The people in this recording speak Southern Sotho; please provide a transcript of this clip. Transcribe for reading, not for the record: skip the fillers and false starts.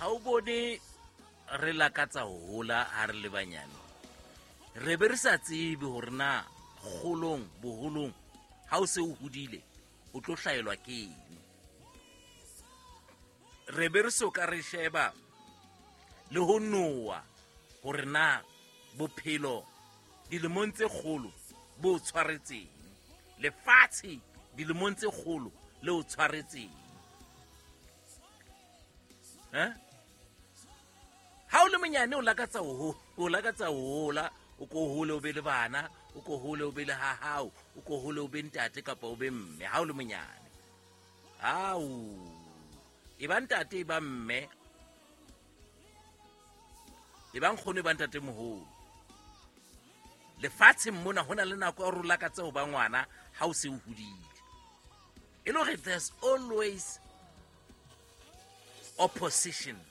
Ha o bone re lakatsa ho hola ha re le banyane, re be re sa tsebe hore na kgolong, boholong, ha o se o hodile o tlo hlaelwa ke eng. Re be re so ka re sheba le ho noa hore na bophelo dilemong tse kgolo bo o tshwaretseng, lefatshe dilemong tse kgolo le o tshwaretseng. Eh? Ha o le monyane o lakatsa ho o lakatsa ho hola, o ko hole o be le bana, o ko hole o be le ha hao, o ko hole o be ntate kapa o be mme. Ha o le monyane, ao e ba ntate, e ba mme, e ba nkgono, e ba ntate moholo. Lefatsheng mona ho na le nako ya hore o lakatse ho ba ngwana ha o se o hodile. E le hore there's always opposition.